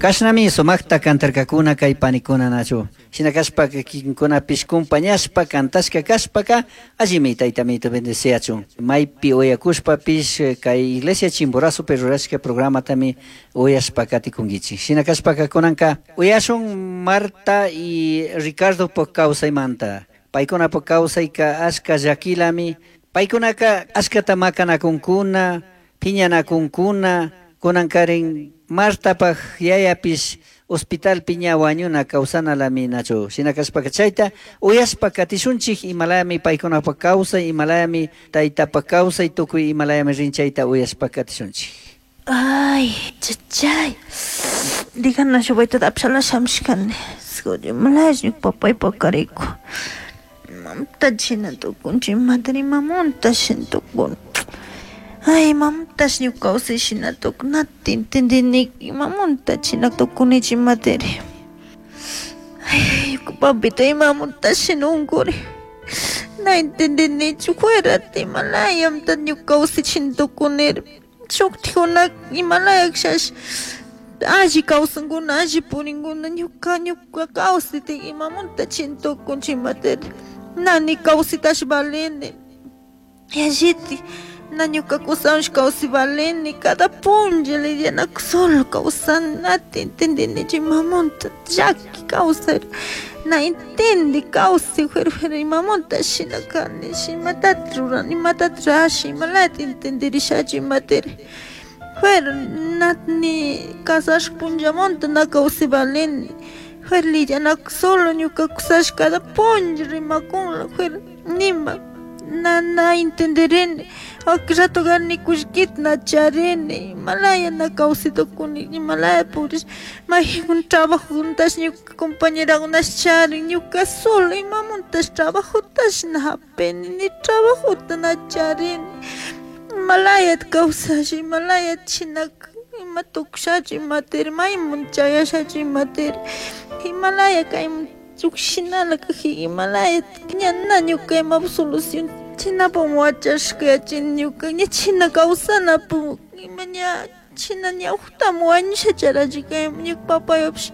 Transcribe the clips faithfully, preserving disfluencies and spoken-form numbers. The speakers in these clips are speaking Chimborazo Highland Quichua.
Kashnami sumakta kantarkakuna kay panikuna nachu. Shina kashpaka kikinkunapish kumpañashpa kantashka kashpaka allimi taytamito bendeciachun. Maypi uyakushpapish kay Iglesia Chimborazopi rurashka programatami uyashpa katikunkichik. Shina kashpaka kunanka uyashun Marta y Ricardopak kawsaymanta. Paykunapak kawsayka ashka llakilami. Paykunaka ashkata makanakunkuna, piñanakunkuna, kunankarin Martapak yayapish hospitalpi ña wañuna kawsanalami nachu. Shina kashpaka chayta uyashpa katishunchik imalayami paykunapak kawsay, imalayami taytapak kawsay, tukuy imalayami rin chayta uyashpa katishunchik. Ay, chachay. Digana shubayta apshala shamshkani. Sgoji malash papay pakariku. Mamta china tukunchi madre mamunta shin tukun. Ay, mamtash ñuka kawsay shina tukun nati entendini imamunta china tukunichi madre. Ay, ñuka papito imamunta shina unkuri. Na entendinichu fuerate imalayamta ñuka kawsay shina tukuniri. Shuktikuna imalayakshash alli kawsankuna alli purinkuna ñuka ñuka kawsayta imamunta china tukunchi madre. Nani kawsaytash valini. Yalliti na ñuka kusawansh kawsay valini cada punlla lidiana solo kawsani nati entendinichu imamunta llaki kawsay na entendi kawsay fuera fuera imamunta shina kani imatata rurani imatata rasha imalata entendirishachu imatari fuera na ni casashka punllamanta na kawsay valini fuera lidiana solo ñuka kusash cada punlla rimakunla fuera nima na na entenderini rato ni kullkita na charini imalaya na kawsay tukuni imalaya purish mayjin trabajotash ñuka compañerakunash charin ñuka solo imamuntash trabajotash na hapini ni trabajota na charini imalayata kawsasha imalayata shinaka ima tukushachu imatiri maymun chayashachu imatiri imalaya kaymun llukshinala kajika imalaya ña na ñuka imapak solución chinapak wachashka yachini ñuka ña china kawsanapak ima ña china ña uktami wañusha charachi kaymun ñuka papaypish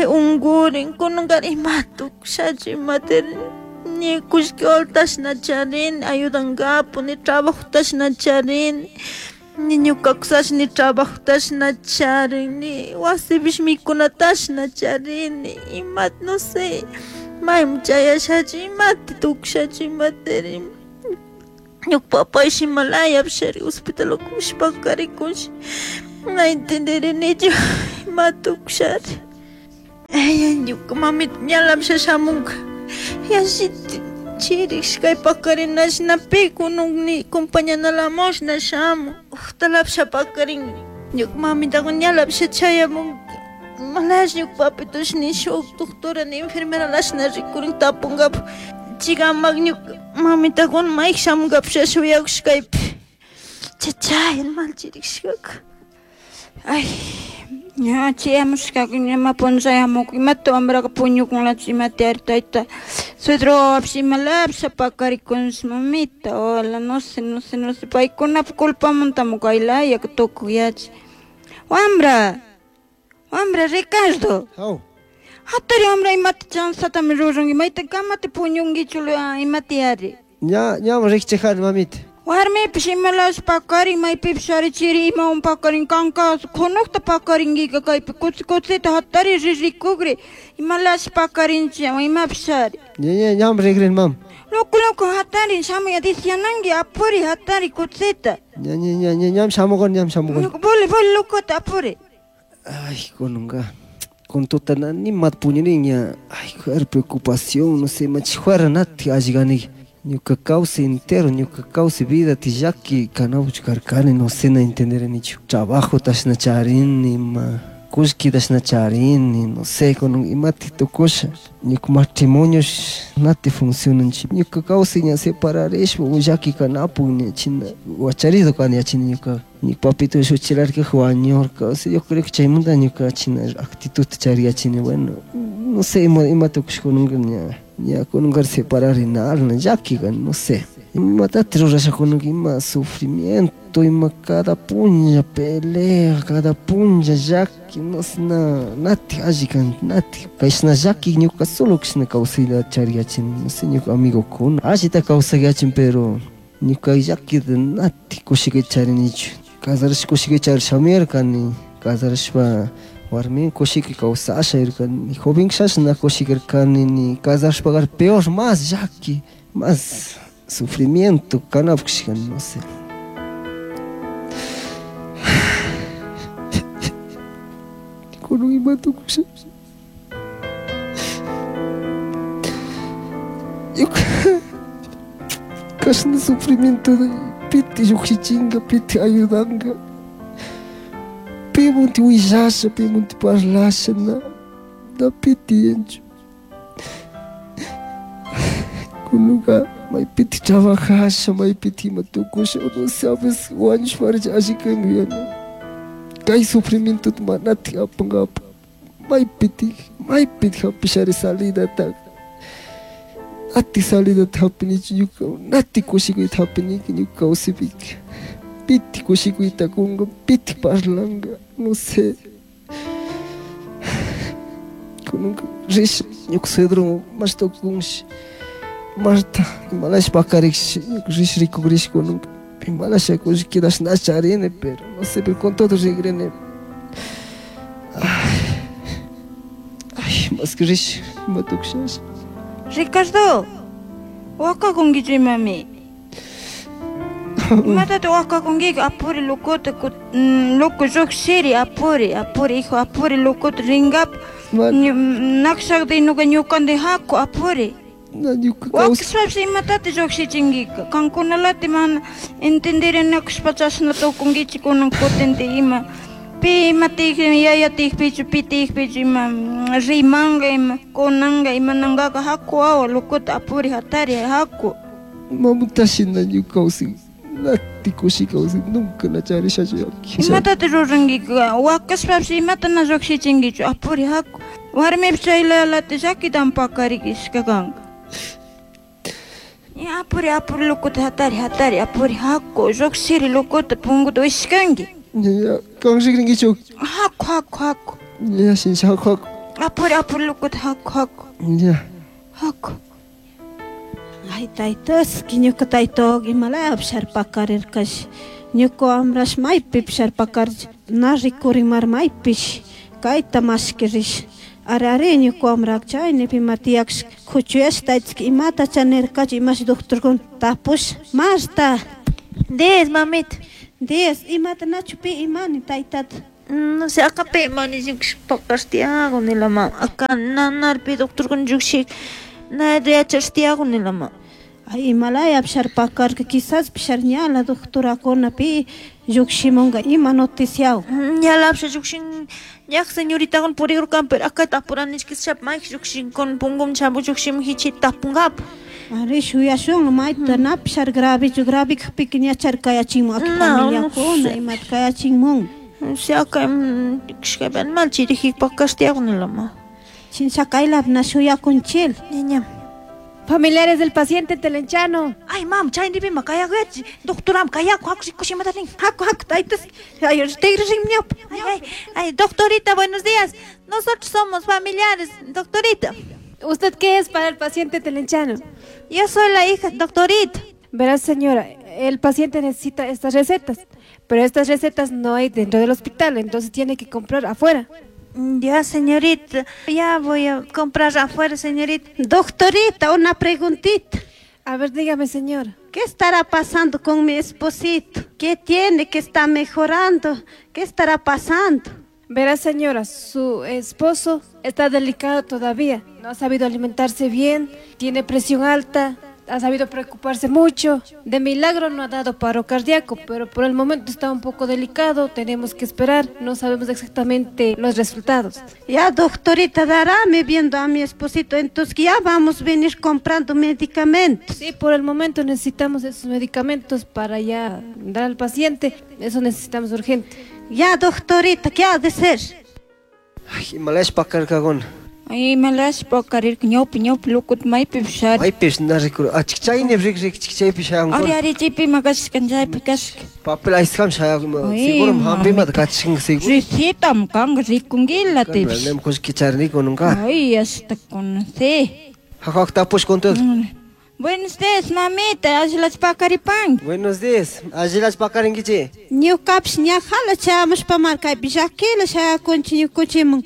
unkurin kunanka ima tukushachu imatiri ni kullki wawatash na charini ayudankapak ni trabajotash na charini ni ñuka kusash ni trabajotash na charin ni wasipish mikunatash na charini imata no sé mayman chayashachu imata tukushachu imatiri ñuka papaysh imalayapish ari hospital ukupish pakarikunshi na entenderinichu ima tukushari. Ay, ñuka mamita ñalapish shamunka yallita chirish kay pakarinash na pi kunun ni compañanalamush na shamun uktalapish pakarin ñuka mamitaqa ñalapish chayamunka imalash ñuka papitosh ni shuk doctora ni enfermeralash na rikurin tapunkapak chikamak ñuka mamitakuna mayka shamunkapish shuyakush kaypi chachay mal chirishkaka. Ay, ña chayamushkaka ña punllayamuk imata wambraka puñukunlachu imata ari tayta suegro wawapish imalapish pakarikunshi mamita wala no sé no sé no sé paykunapak culpamuntami kaylaya tukuk yachi wambra wambra Ricardo Haw. Hatari wambra imata chanzatami ruranki mayta kamata puñunkichu imata yari Ña ñami rikchijani mamita. Warmipish imalash pakarin maypipish ari chiri imawan pakarin kanka kunukta pakarinkika kaypi kutsi kutsita hatari ririkukri imalash pakarinchi imapish ari. Ña ña ñami rikrini mama. Loco loco hatari shamuy diciananki apuri hatari kutsita. Ña ña ña ña ñami shamukani ñami shamukani. Boli boli locota apuri. Ay, kununka kun tuta na nimata puñurin ña ay juera preocupación no sé imachi juera natik alli kaniki. Ñuka kawsay entero, ñuka kawsay vida llaki kanapuchu karkani, no sé, na entenderinichu. Trabajotash na charini, ima kullkitash na charini, no sé, kunan imatik tukusha. Ñuka matrimonio nati funcionanchik. Ñuka kawsay ña separarishpa llaki kanapuk ña china wacharido kani yachini ñuka. Ñuka papito shuchilarka wañurka, o sea, yo creo que chaymanta ñuka china actitud chariyachini, bueno, no sé ima ima tukush kunanka ña ña kunanka separarinal, llaki kani, no sé. Imatati rurashakuna ima sufrimiento, ima cada punlla pelea, cada punlla llaki, no sé, na, nati alli kan, nati. Kashna llaki ñuka solo kashna kawsayta chariyachin, no sé, ñuka amigokuna. Allita kawsayachin, pero ñuka llaki nati kushikay charinichu. Kasarashpa kushikay charishamirkani, kasarashpa warmin kushiki kawsasha irkani, joven kashna kushikirkani, ni kasarashpa peor, más llaki, más sufrimiento, kanapkashka, no sé. Kunan ima tukusha. Ñuka kashna sufrimiento piti lluqshichinka, piti ayudanka. Pimunti willasha, pimunti parlasha, na, na piti yanchu. Kunanka maypiti trabajasha, maypiti ima tukusha, no sabes, wañushparcha alli kaymi yana. Kay sufrimiento manati apankapa. Maypiti, maypiti hapishari salidata. Nati salidata hapinichu ñuka, nati kushikuyta hapiniki ñuka kawsaypika. Piti kushikuyta kunka, piti parlanka, no sé. Kunanka risha ñuka suegro mashtakunshi. Marta, imalash pakarikshi, rish rikukrish kunanka. Imalash kushkidash na charini, pero no sé, pero con todo rigrene. Ay, más que rish, ima tukushash. Ricardo, wakakunkichu imami. Imatata wakakunkika apuri lokuta loco lluqshiri apuri, apuri hijo, apuri lokuta rinkapa. Nakshakta inuka ñukanti haku apuri. Wakashpapish imatata lluqshichinkika. Kankunalati mana entenderinakushpa chashna tukunkichik kunan kutinti ima. Pi ima tiyakpi yaya tiyakpichu pi tiyakpichu ima rimanka ima kunanka imanankaka haku wawa lokuta apuri hatari haku. Mamutashina ñuka kawsay, nati kushi kawsay, nunca na charishachu llaki. Imatata rurankika wakashpapish imata na lluqshichinkichu apuri haku. Warmipish chaylalati llakitami pakarikishka kanka. Apuri apuri lokuta hatari hatari apuri haku lluqshiri lokuta punkuta wishkanki. Ya, kan rikrinkichu. Haku haku haku. Ya, shincha haku haku. Apuri apuri lokuta haku haku. Ya. Haku. Ay, taytaski ñuka taytoq imalapish pakarirkash. Ñuka wamrash maypipish pakarir na rikurimar maypish kayta mashkirish. Ari ari ñuka wamrak chaynipi ima tiyaksh kuchuyash taytaski imata chanirkachu imash doctorkuna tapush. Marta. Diez, mamita. Diez, imata nachu pi imani taytata. No sé, acá pi imani lluqshik pakash tiyaku nilama. Acá nanarpi doctorkuna lluqshik na yachash tiyaku nilama. Ay, imalaya pishar pakarka, quizás pishar ñala doctorakuna pi lluqshimunka ima noticiaw. Ñala pishar lluqshin ñaq señoritakuna purikurkan, pero acá tapuranishkishap mayk lluqshinkuna punkum chapu lluqshimun hichita tapunkapa. Ari shuyashun mayta na pishar gravichu, gravi kajpika ñachar kayachinmun aki familiakuna imata kayachinmun. Si acá kishkapi animal chiriji pakash tiyaku nilama. Chincha kaylap na shuyakunchil. Ñañam. Familiares del paciente Telenchano. Ay, mam, chaynipi ma kayakuyachi. Doctoram kayaku, haku rikushimata rin. Haku, haku, taytas. Ay, tigre rin. Ay, ay, ay, doctorita, buenos días. Nosotros somos familiares, doctorita. ¿Usted qué es para el paciente Telenchano? Yo soy la hija, doctorita. Verás, señora, el paciente necesita estas recetas, pero estas recetas no hay dentro del hospital, entonces tiene que comprar afuera. Ya, señorita, ya voy a comprar afuera, señorita. Doctorita, una preguntita. A ver, dígame, señora. ¿Qué estará pasando con mi esposito? ¿Qué tiene? ¿Qué está mejorando? ¿Qué estará pasando? Verá, señora, su esposo está delicado todavía. No ha sabido alimentarse bien, tiene presión alta, ha sabido preocuparse mucho. De milagro no ha dado paro cardíaco, pero por el momento está un poco delicado, tenemos que esperar, no sabemos exactamente los resultados. Ya, doctorita, daráme viendo a mi esposito, entonces ya vamos a venir comprando medicamentos. Sí, por el momento necesitamos esos medicamentos para ya dar al paciente, eso necesitamos urgente. Ya, doctorita, ¿qué ha de ser? Ay, imalash pakarkakuna. Ay, imalash pakarirka ñawpi ñawpi lukut maypipish ari. Maypish na rikur. Achik chayni rik rik chik chaypi shayankuna. Ari ari chaypi ima kashka chaypi kashka. Papel aysqam shayak seguro hampimata kachinka seguro. Recetam kanka rikunkila tipish. Nem kushki charini kununka. Ay, hasta conocí. Hak tapush con todo. Buenos días, mamita, allilachu pakaripanki. Buenos días, allilachu pakarinkichi. Ñukapish ñajala chayamushpa markaypi llakila shayakunchik ñukuchimun.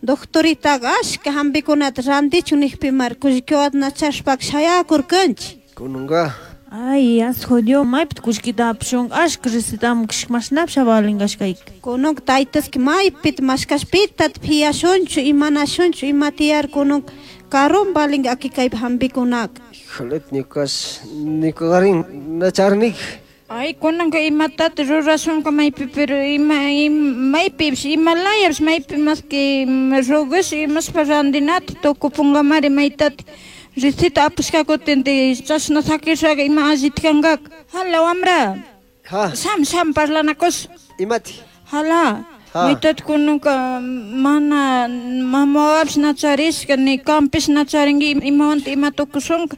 Doctoritaqa ashka hampikunata rantichun nijpi mar kullkiwata nachashpaka shayakurkanchik. Kununka. Ay, asco Dios, maypita kullkita apashunka ashka recetamun kashka mashnapis valinkashkayka. Kununka taytaski maypita mashkashpita piyashunchu imanashunchu ima tiyar kununka karun valinka aki kaypi hampikunaka. Híjole, ñukash ñukarin nacharnik. Ay, kunanka imatata rurashunka maypi pero ima, ima maypipish imalayapish maypi mas que rogash imashpa rantinata tukupunkamari maytata receta apashka kutin chashna sakishaka ima allita kankaka. Hala wamra. Ha. Sham sham parlanakush. Imati. Hala. Ha. Maytata kunanka mana mamawapish nacharishka ni kampish nacharinki imawanta ima tukushunka.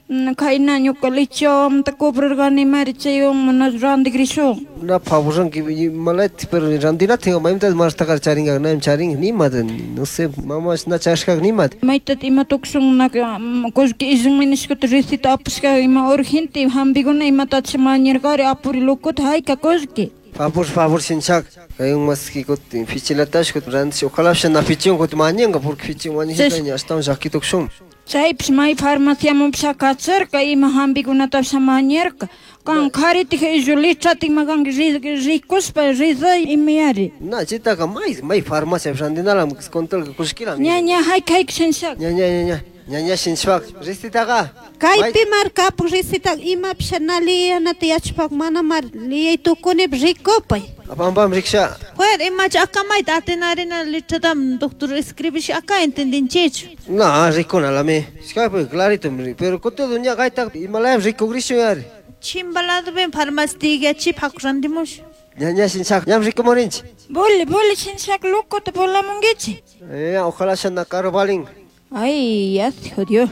Kayna ñuka lechewamanta cobrarkani mari chaywan mana rantikrishun. Na pavurranki malayta pero rantinatinka maymanta martaqa charinka nam charin nimata no sé mamash na charishkaka nimata. Maytata ima tukushunkunaka kullki illanmi nishkata receta apashka ima urgente hampikuna imatacha mañarkari apuri lokuta hayka kullki. Favor, favor, shinchak. Kayun maski kutin fichilatash kutin rantish ojalá na fichun kutin mañanka porque fichin mañanka ashtawan llaki tukushun. Chaypish may farmaciamanpish kacharka ima hampikunatapish mañarka. Kan karitik illu letratik ima kanki rikushpa rizay imayari. Na chaytaka may may farmacia rantinalam control kullkilam. Ña ña hayka hayka shinchak. Ña ña ña ña ña ña shinchak recetaqa. Kaypi markapuk receta imapish na liyanata yachpak mana mar liyay tukunipi rikupay. Apampam riksha. Juer, imacha akamayta atinarina letratam doctor escribish acá entendinchichu. Na, rikunalami. Ishkaypi clarito pero kutu ña kayta imalayam rikugrishu yari. Chimbaladopi farmacia tigachi paku rantimush. Ña ña shinchak, ñam rikumurinchik. Boli, boli shinchak lokuta volamunkichik. Eh, ojalá shana caro valin. Ay, ya se jodió.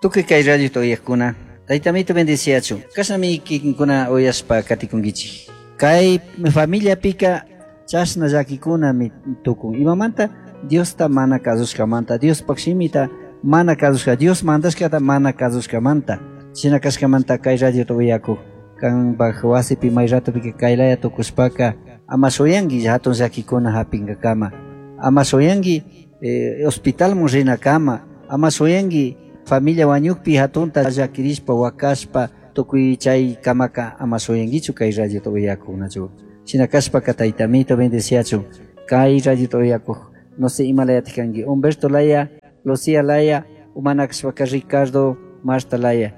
Tukuy kay radio uyaqkuna, taytamito bendeciachun. Kashnami kikinkuna uyashpa katikunkichik. Kay familiapika chashna llakikunami tukun. Imamanta Diosta mana kasushkamanta, Diospaq shimita mana kasushka, Dios mandashkata mana kasushkamanta. Shina kashkamanta kay radiota uyakuq. Kanpaq wasipi may ratopika kaylaya tukushpaka ama shuyanki hatun llakikuna hapinkakama. Ama shuyanki eh, hospitalmun rinakama. Ama shuyanki familia wañukpi hatunta llakirishpa wakashpa tukuy chay kamaka ama shuyankichu kay radiota uyakuqnachu. Shina kashpaka taytamito bendeciachun. Kay radiota uyakuq no sé imalayatik kanki Humberto Laya, Lucía Laya, umana kashpaka Ricardo Marta Laya.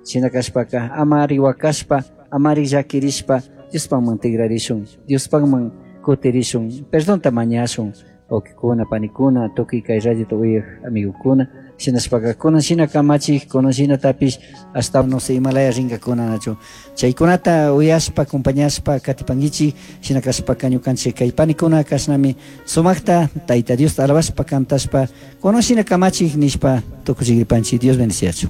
Shina kashpaka amari wakashpa, amari llakirishpa Diospaqman tigrarishun, Diospaqman kutirishun, perdonta mañashun. Wawqikuna, panikuna, tukuy kay radiota uyaq amigokuna, shinashpaka kunan shina kamachik, kunan shinatapish hasta no sé imalaya rinkakunanachu. Chaykunata uyashpa, acompañashpa katipankichik, shina kashpaka ñukanchik kay panikuna kashnami sumaqta Tayta Diosta alabashpa kantashpa kunan shina kamachik nishpa tukuchikripanchik. Dios bendeciachu.